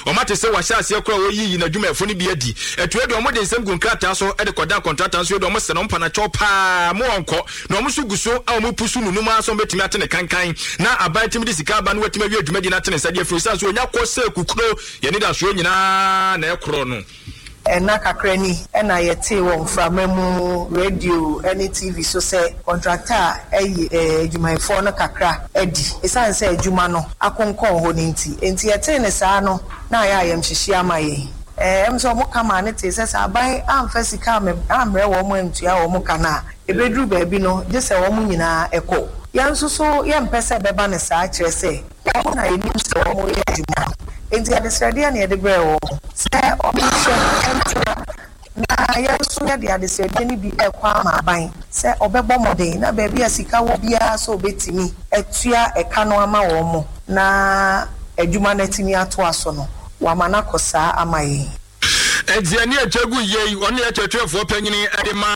Wɔate sɛ wɔahyɛ aseɛ koraa a wɔreyiyi n'adwumayɛfoɔ no bi adi. Atuo deɛ wɔde nsɛm gu nkrataa so de kɔdan kɔntrata nso deɛ wɔsɛ no wɔmpa no akyɛw paa ma wɔnkɔ. Na wɔn nso gu so a wɔrepusu nunum ara sɛ wɔbɛtumi ate ne kankan na aban atumi de sika aba na watumi awie dwumadie no ate ne nsa de afiri ɛsiane sɛ ɔnya kɔ sɛ kukuro yɛn anidasoɔ nyinaa na ɛkorɔ no. Nna kakra ni na yɛtee wɔ mframa mu, radio ne TV so sɛ kɔntrakta ayi adwumayɛfoɔ no kakra adi esiane sɛ adwuma no akonkɔn hɔ no nti. Enti yɛtee no saa no, na ayɛ ayamhyehyeɛ ama yɛn. Ɛm sɛ wɔka maa no tee sɛ sɛ aban amfa sika ammrɛ wɔn antua wɔn ka no a, ɛbɛduru baabi no, gye sɛ wɔn nyinaa kɔ. Yɛn nso so yɛmpɛ sɛ ɛbɛba no saa, kyerɛ sɛ, Wɔn na yenim sɛ wɔreyɛ adwuma no, enti adesrɛdeɛ na yɛde brɛɛ wɔn sɛ wɔnhwɛ ntena, na yɛn nso yɛde adesrɛdeɛ no bi rekɔ ama aban sɛ ɔbɛbɔ mmɔden na baabi a sika wɔ biara sɛ ɔbɛtumi atua ɛka no ama wɔn na adwuma no atumi atoa so no, wama no akɔ saa ama yɛn. Enti ɛne atwa gu yei, ɔno na ɛyɛ kyerɛkyerɛfoɔ panyini de ma.